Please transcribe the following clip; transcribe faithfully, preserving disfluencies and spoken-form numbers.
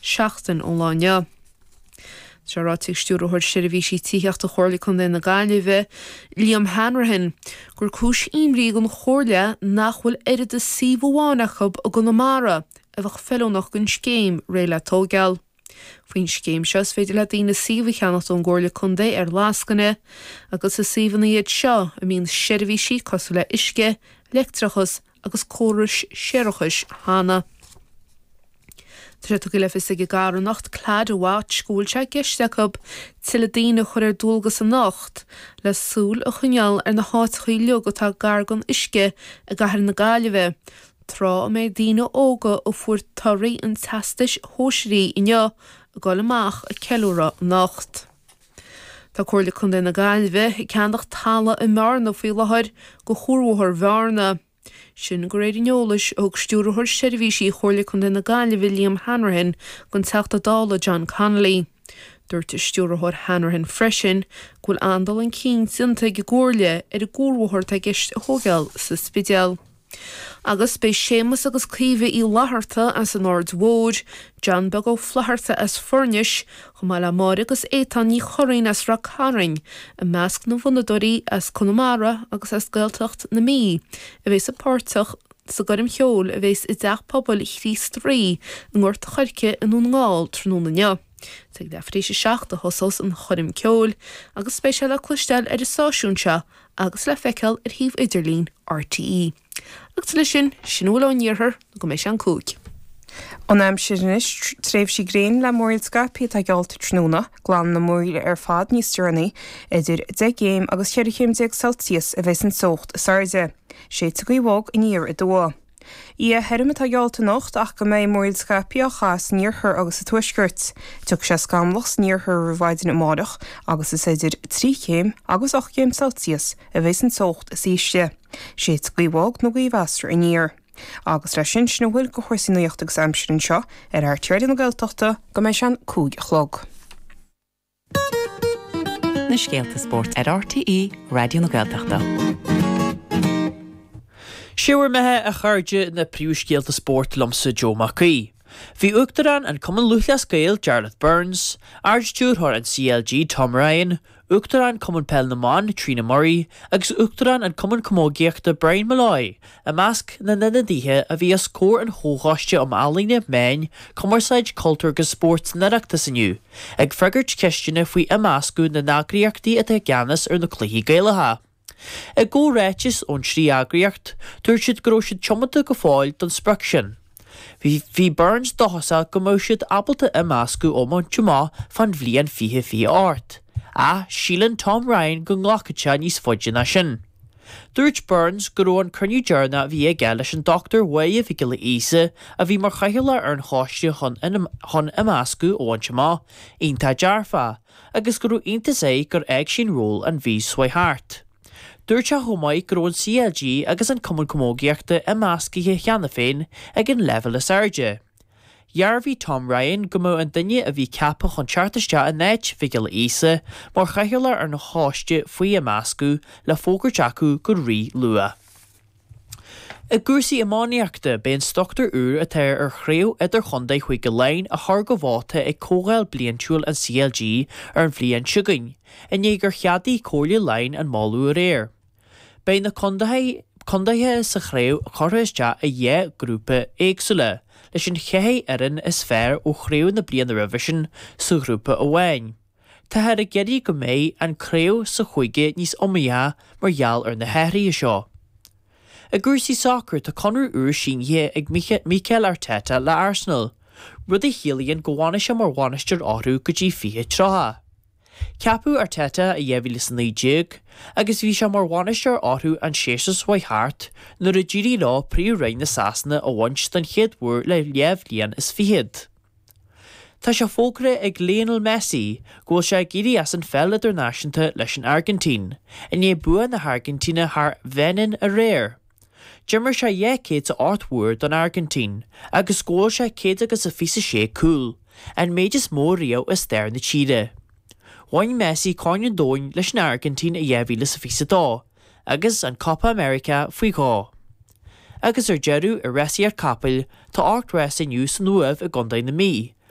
seachtain ón lá inniu. Tá sé ráite ag Stiúrthóir Seirbhísí Tithíochta Chomhairle Contae na Gaillimhe, Liam Hanrahan, gur cúis imní don Chomhairle nach bhfuil oiread is suíomh amháin acu i gConamara a bheadh feiliúnach don scéim Réidh le Tógáil. Faoin scéim seo is féidir le daoine suíomh a cheannacht ón gComhairle Contae ar lascaine, agus is suíomhanna iad seo a mbíonn seirbhísí cosúil le uisce, leictreachas agus córais séarachais cheana. Tá sé tugtha le fios ag an gcarthanacht Claddagh Watch go bhfuil sé i gceist acu tuilleadh daoine a chur ar dualgas anocht le súil a choinneáil ar na háiteacha uilig atá gar don uisce i gcathair na Gaillimhe, tráth a mbeidh daoine óga a fuair torthaí an teastais shóisearaigh inniu ag dul amach ag ceiliúradh anocht. Tá Comhairle Contae na Gaillimhe ag ceannach talamh i mBearna faoi láthair do Chuarbhóthar Bhearna. Sin de réir an eolais a thug Stiúrthóir Seirbhísí Chomhairle Contae na Gaillimhe Liam Hanrahan don Teachta Dála John Connolly. Dúirt Stiúrthóir Hanrahan freisin go bhfuil an-dul chun cinn déanta ag an gComhairle ar an gcuarbhóthar atá i gceist a thógáil sa Spidéal. Agus beidh Séamus agus Caoimhe Uí Fhlatharta as an Aird Mhóir, John Beag Ó Flatharta as Foirnis, chomh maith le Máire agus Étáin Ní Churraoin as Ráth Cairn, i measc na bhfonnadóirí as Conamara agus as Gaeltacht na Mí, a bheas páirteach sa gcoirm cheoil a bheas i dTeach Pobail Chríost Rí i nGort an Choirce i nDún na nGall tráthnóna inniu. Ag leathuair tar éis a seacht a thosós an choirm ceoil agus beidh sé le cloisteáil ar an stáisiún seo agus le feiceáil ar shuíomh idirlín RTÉ. Agus leis sin, sin a bhfuil ón iarthar go mbeidh sé an cúig. An aimsir anois tréimhsí gréine le múraíl scaipthe atá geallta tráthnóna, glanfaidh na múraíl ar fad níos deireanaí, idir deich gcéim agus cheithre chéim déag Celsius a bheas an teocht is airde. Séidfidh gaoth bhog aniar aduaidh. Oíche thirim atá geallta anocht ach go mbeidh múraíl scaipthe á chaitheamh san iarthar agus sa tuaisceart. Tiocfaidh sé scamallach san iarthar roimh mhaidin amárach agus is idir trí chéim agus ocht gcéim Celsius a bheas an teocht is ísle. Séidfidh gaoth bhog nó gaoth mheasartha aniar. Agus leis sin sin a bhfuil de chúrsaí nuachta agus aimsire anseo ar RTÉ Raidió na Gaeltachta go mbeidh sé an cúig a chlog. Na scéalta spóirt ar RTÉ Raidió na Gaeltachta. Sé bhur mbeatha a chairde na príomhscéalta spóirt liomsa Joe Mac Aoidh. Bhí Uachtarán an Chumann Lúthchleas Gael Jarlath Burns, Ardstiúrthóir an CLG Tom Ryan, Uachtarán Cumann Peil na mBan Trina Murray agus Uachtarán an Cumann Camógaíochta Brian Molloy i measc na n-ionadaithe a bhí os comhair an Chomhchoiste um Ealaíona, Meáin, Cumarsáid, Cultúr agus Spórt san Oireachtas inniu, ag freagairt ceisteanna faoi imeascadh na n-eagraíochtaí atá i gceannas ar na cluichí Gaelacha. I gcomhráiteas ón trí eagraíocht, dúirt siad go raibh siad tiomanta go fóill don sprioc sin. Bhí Burns dóchasach go mbeadh siad ábalta imeascadh a bhaint amach fán bhliain fiche fiche ocht, ach síleann Tom Ryan go nglacfaidh sé níos faide ná sin. Dúirt Burns go raibh an cruinniú deireanach a bhí aige leis an Dr Mháire Mhic Giolla Íosa a bhí mar chathaoirleach ar an choiste chun chun imeascadh a bhaint amach, iontach dearfach, agus go raibh iontas air gur fhág sí an ról an mhí seo thart. Dúirt sé chomh maith go raibh an CLG agus an Cumann Camógaíochta imeascaithe cheana féin ag an leibhéal is airde. Dhearbhaigh Tom Ryan go mbeadh an duine a bhí ceaptha chun teacht isteach in áit Mhic Giolla Íosa mar chathaoirleach ar an choiste faoi imeascadh le fógairt acu go rí-luath. I gcúrsaí iománaíochta, beidh an struchtúr úr atá ar chraobh idirchontae Chúige Laighean á chur go vóta ag Comhdháil Bliantúil an CLG ar an bhliain seo chugainn, i ndiaidh gur cheadaigh Comhairle Laighean an moladh aréir. Beidh na contaetha sa chraobh curtha isteach i dhá ghrúpa éagsúla, leis an cheathair fhoireann is fearr ó chraobh na bliana roimhe sin sa ghrúpa amháin. Táthar ag iarraidh go mbeidh an chraobh sa chúige níos iomaíche mar gheall ar na hathruithe seo. I gcúrsaí sacair tá conradh úr sínithe ag Mikel Arteta le Arsenal, rud a chiallaíonn go bhfanfaidh sé mar bhainisteoir orthu go dtí fiche tríocha. Ceapadh Arteta i dhá mhíle is a naoi déag agus bhí sé mar bhainisteoir orthu an séasúr seo thart nuair a d'éirigh leo Príomh-Roinn na Sasana a bhaint den chéad uair le leathbhliain is fichead. Tá sé fógartha ag Lionel Messi go bhfuil sé ag éirí as an pheil idirnáisiúnta leis an Airgintín, i ndiaidh bua na hAirgintíne thar Bheinin aréir. D'imir sé dhá chéad is a ocht uair don Airgintín agus scóráil sé céad agus a fiche a sé cúl, an méid is mó riamh i stair na tíre. Bhain Messi Corn an Domhain leis an Airgintín i dhá mhíle is a fiche a dó agus an Copa America faoi dhó. Agus ar deireadh, i rásaíocht capaill, tá ocht rás inniu san Uaimh i gContae na Mí,